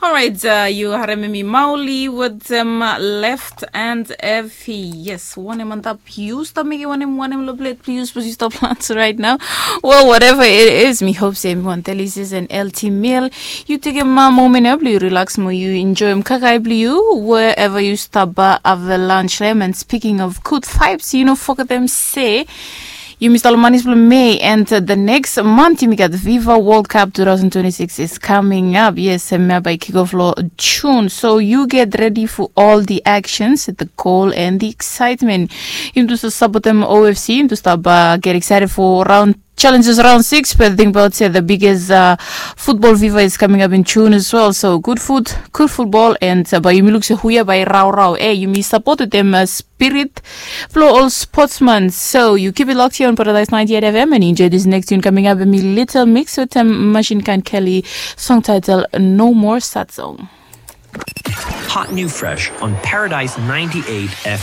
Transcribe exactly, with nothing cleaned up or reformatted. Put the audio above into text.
Alright, uh, yu harem mi Mauli with them uh, left and Effie. Yes, wanem antap yu stap mekim wanem wanem lo plate please, but yu stap plans right now. Well, whatever it is, mi hope se mi wan tell you sis and L T meal. You take a ma moment up, you relax mo, you enjoy him kakai blue, wherever you stop uh, have a lunch them. And speaking of good vibes, you know, fuck them say. Yumi stalo manis blong Mei and uh, the next month yumi gat Viva World Cup two thousand twenty-six is coming up. Yes, hemia bai kick off lo June. So you get ready for all the actions, the goal and the excitement. Yumi tu stap support them O F C, yumi tu stap uh, get excited for round challenges round six, but think about say the biggest uh, football viva is coming up in June as well. So good food, good football, and uh, bai yumi look se huya bai rau rau. Eh, yumi support them uh, spirit Flow all sportsman. So you keep it locked here on Paradise ninety-eight F M and enjoy this next tune coming up with me, Little Mix with um, Machine Gun Kelly, song title No More Sad Song. Hot new fresh on Paradise ninety-eight F M.